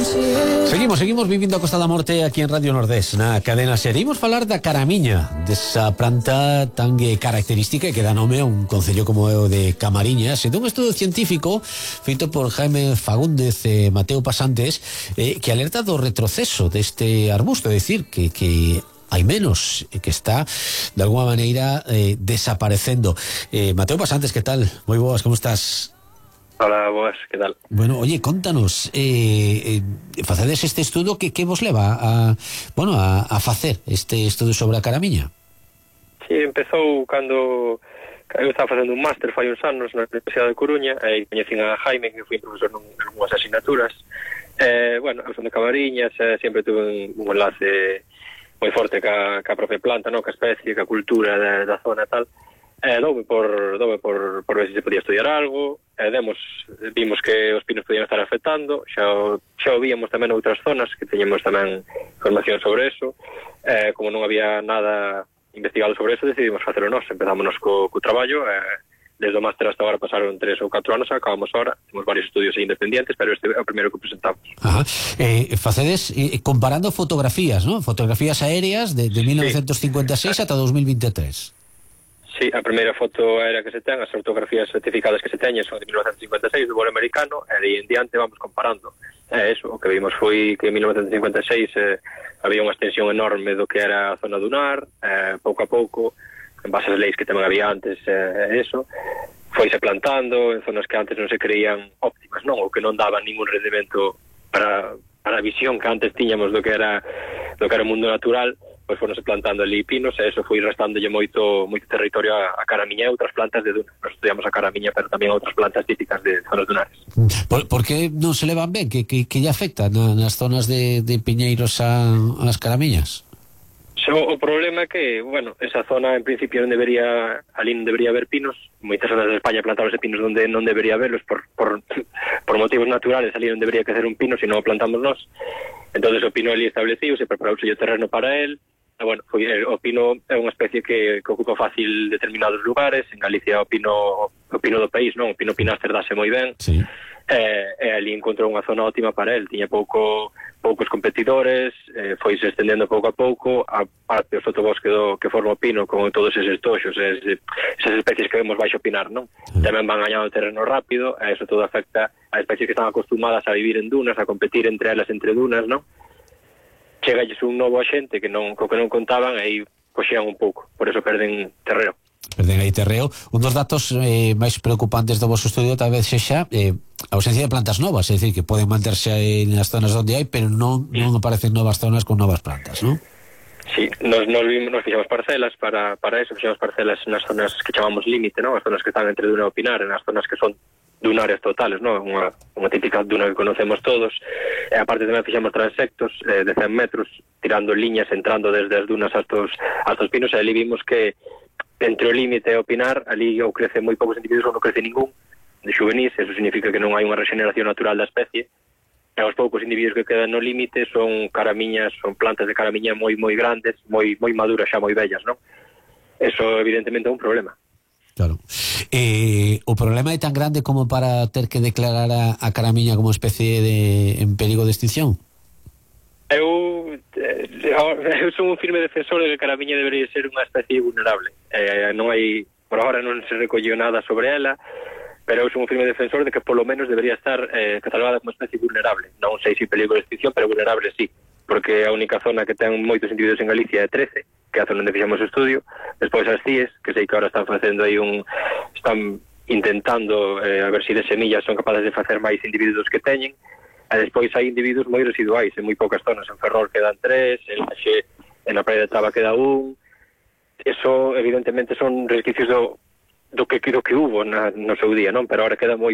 Seguimos vivindo a Costa da Morte aquí en Radio Nordés, na cadena SER. Imos falar da caramiña, desa planta tan característica que dá nome a un concello como é o de Camariñas, e dun estudo científico feito por Jaime Fagúndez e Mateo Pasantes, que alerta do retroceso deste arbusto, é dicir, que hai menos, que está de alguma maneira desaparecendo. Mateo Pasantes, que tal? Moi boas, como estás? Hola, boas, que tal? Bueno, oye, contanos, facedes este estudo que vos leva a facer este estudo sobre a caramiña? Sí, empezou cando eu estaba facendo un máster fai uns anos na Universidade de Coruña, e coñecín a Jaime, que fui profesor nunhas asignaturas. Bueno, a son de Camariñas, sempre tuve un enlace moi forte ca propia planta, no? Ca especie, ca cultura da zona e tal. Doume por ver se podía estudiar algo. Vimos que os pinos podían estar afectando, xa o víamos tamén outras zonas que teñemos tamén información sobre eso. Como non había nada investigado sobre eso, decidimos facelo nós. Empezámonos co traballo, desde o máster hasta agora pasaron 3 ou 4 anos, acabamos ahora, temos varios estudios independientes, pero este é o primeiro que presentamos. Ajá. Facedes comparando fotografías, ¿no? Fotografías aéreas de 1956 ata 2023. Sí, a primeira foto aérea que se ten, as fotografías certificadas que se teñen son de 1956, do vuelo americano, e de en diante vamos comparando. Eso, o que vimos foi que en 1956 había unha extensión enorme do que era a zona dunar, pouco a pouco, en base ás leis que tamén había antes, eso, foise plantando en zonas que antes non se creían óptimas, non? Ou que non daban ningún rendimento para a visión que antes tiñamos do que era o mundo natural. Pois foronse plantando ali pinos, e eso foi restándolle moito territorio a caramiña e outras plantas de duna. Nos estudiamos a caramiña, pero tamén outras plantas típicas de zonas dunares. Por que non se levan ben? Que lle afecta nas zonas de piñeiros ás caramiñas? O problema é que, bueno, esa zona en principio non debería haber pinos. Moitas zonas de España plantaron pinos onde non debería haberlos por motivos naturales. Ali non debería crecer un pino, se non o plantamos nós. Entonces o pino ali establecido, se preparouse o terreno para él. Bueno, o pino é unha especie que ocupa fácil determinados lugares. En Galicia o pino do país, non? O pino pinaster dase moi ben. Sí. E ali encontrou unha zona óptima para él. Tiña poucos competidores, foise estendendo pouco a pouco a parte do sotobosque que forma o pino, con todos eses toxos, esas especies que vemos baixo pinar, non? Tamén van gañando terreno rápido, e eso todo afecta a especies que están acostumadas a vivir en dunas, a competir entre elas entre dunas, non? Chegalles un novo axente co que non contaban, e aí coxean un pouco, por eso perden terreo. Perden aí terreo. Un dos datos máis preocupantes do vosso estudio tal vez sexa a ausencia de plantas novas, é dicir, que poden manterse nas zonas onde hai, pero non aparecen novas zonas con novas plantas, non? Sí, nos fixamos parcelas para eso, fixamos parcelas nas zonas que chamamos límite, non? As zonas que están entre duna e o pinar, nas zonas que son dunares totales, non? Unha típica duna que conocemos todos. E aparte tamén fixamos transectos de 100 metros, tirando liñas, entrando desde as dunas hasta os pinos, e ali vimos que entre o límite e o pinar, ali ou crece moi poucos individuos ou non crece ningún de xuvenís. Eso significa que non hai unha regeneración natural da especie, e os poucos individuos que quedan no límite son caramiñas, son plantas de caramiña moi grandes, moi maduras, xa moi vellas, non? Eso evidentemente é un problema. Claro. O problema é tan grande como para ter que declarar a caramiña como especie en perigo de extinción? Eu son un firme defensor de que a caramiña debería ser unha especie vulnerable. Non hai, por agora non se recolleu nada sobre ela, pero eu son un firme defensor de que polo menos debería estar catalogada como especie vulnerable. Non sei se perigo de extinción, pero vulnerable sí, porque a única zona que ten moitos individuos en Galicia é 13, que é a zona onde fixamos o estudio. Despois as CIES, que sei que ahora están facendo aí están intentando a ver se de semillas son capaces de facer máis individuos que teñen. E despois hai individuos moi residuais en moi poucas zonas. En Ferrol quedan 3, en Laxe, en a Praia de Traba queda 1. Eso evidentemente son resquicios do que hubo no seu día, non? Pero ahora queda moi